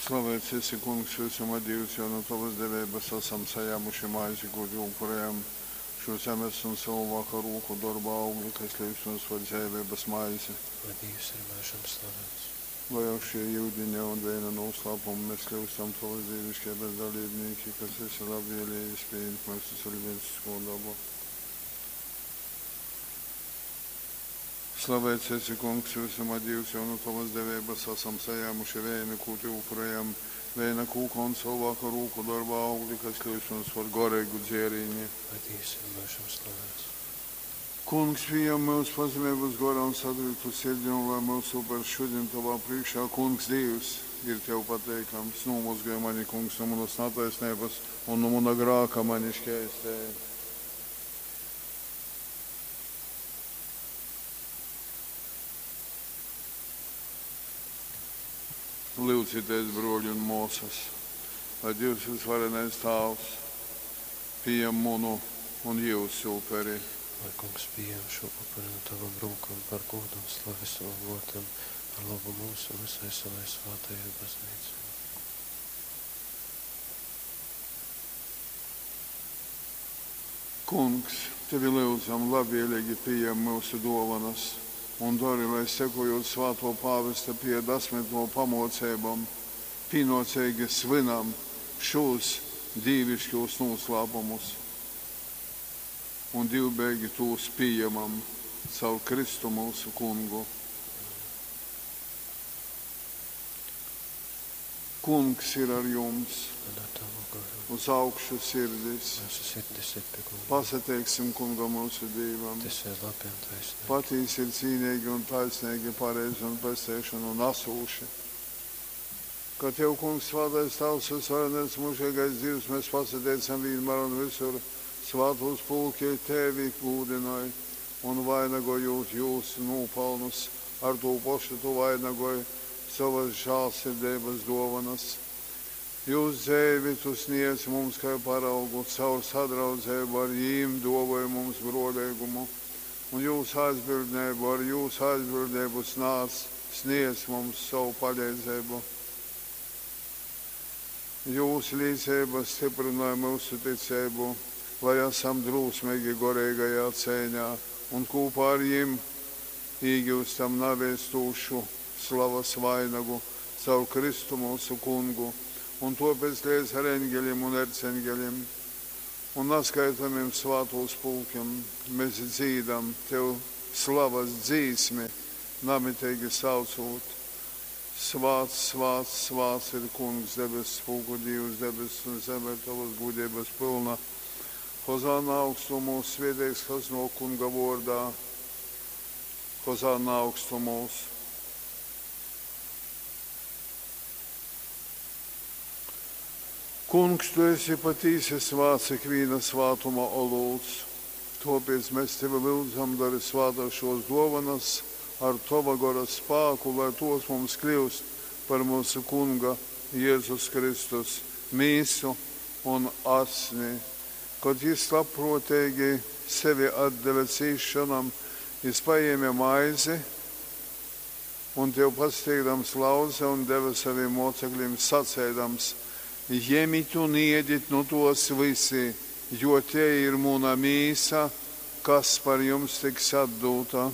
Slaveits esi, Kungs, vysuma Dīvs, jo nu tovas deveibas asam sajāmuši maizi, kū tev upurejam, šū zemes un cylvāka rūku dorba augli, kas kļyust mums par dzeiveibas maizi. Lai Dīvs ir myužam slaveits. Lai ar šī yudiņa un veina nūslāpumu mēs kļūstam tovas dīviškeibas dalībnīki, kas esi labvēlējies pījimt myusu ciļvēciskū dobu. Slaveits esi, Kungs, vysuma Dīvs, jo nu tovas deveibas asam sajēmuši veinu, kū tev upurejam, veina kūka un cylvāka rūku dorba augli, kas kļūst mums par goreigu dzērīni. Lai Dīvs ir myužam slaveits. Kungs, pījem myus pazemeibas gorā un satriktu sirdi, un lai myusu upers šodien tovā priekšā, Kungs, Dīvs, ir tev pateikams. Nomozgaj mani, Kungs, no manas netaisnības un no mana grāka mani šķēstē. Lūdzieties, broļi un māsas, lai Dievs visvarenais Tāvs pieņem munu un jūsu uperi. Lai Kungs pieņem šo upuri no tavam rūkam par godu un slavi savam vārtam, par labu mums un visai savai svētajai baznīcai. Kungs, tevi lūdzam, labvēlīgi pieņem mūsu dovanas un dari, lai sekojot svēto pāvesta pie desmito pamocībām, pienācīgi svinam šos dīvišķos noslēpumus un divbēgi tos pieņemam caur Kristu mūsu kungu. Kungs ir ar jums, Un ar tavu garu. uz augšu sirdis. Mūsu sirdis ir pie Kunga. Pasateiksim kungam mūsu Dievam. Tas ir labi un taisnīgi. Patīsi ir cīnīgi un taisnīgi, pareizi un pestīšanu nesūši. Ka Tev, Kungs, svētais Tavs, visvarenais mūžīgais Dievs, mēs pasateicam vienmēr un visur svētos pulki Tevi gūdināja un vainagojot jūsu nopelnus, ar to pašu tu vainagoji savas žēlsirdības dovanas. Jūs dzēvi tu sniedz mums kā paraugu, caur sadraudzību ar jīm dovoja mums brolīgumu, un jūsu aizbildnību ar jūsu aizbildnību snāc, sniedz mums savu palīdzību. Jūsu līdzība stiprināja mūsu ticību, lai esam drūsmīgi gorīgajā cēņā un kopā ar jim iegūstam navēstūšu slavas vainagu caur Kristu mūsu kungu, un tāpēc līdz ar eņģeļiem un erceņģeļiem un neskaitāmiem svētos pulkiem mēs dzīdam tev slavas dzīsmi, namitīgi saucot. Svāts, svāts, svāts ir kungs, debesu pulku Dievs, debesis un zeme ir tavas gudrības pilna. Hozāna augstumos, svētīgs, kas no kunga vārdā. Hozāna augstumos. Kungs, tu esi patīsi svāts ikviena svātuma olūts. Tāpēc mēs tevi lūdzam, dari svātās šos dovanas ar tava gora spēku, lai tos mums kļūst par mūsu kunga Jēzus Kristus mīsu un asni. Kad jis labprātīgi sevi atdeva cīšanam, jis paēma maizi un tev pasteigdams lauze un deva saviem mocekļiem sacēdams: Ņemiet un ēdiet no tos visi, jo te ir mana mīsa, kas par jums tiks atdota.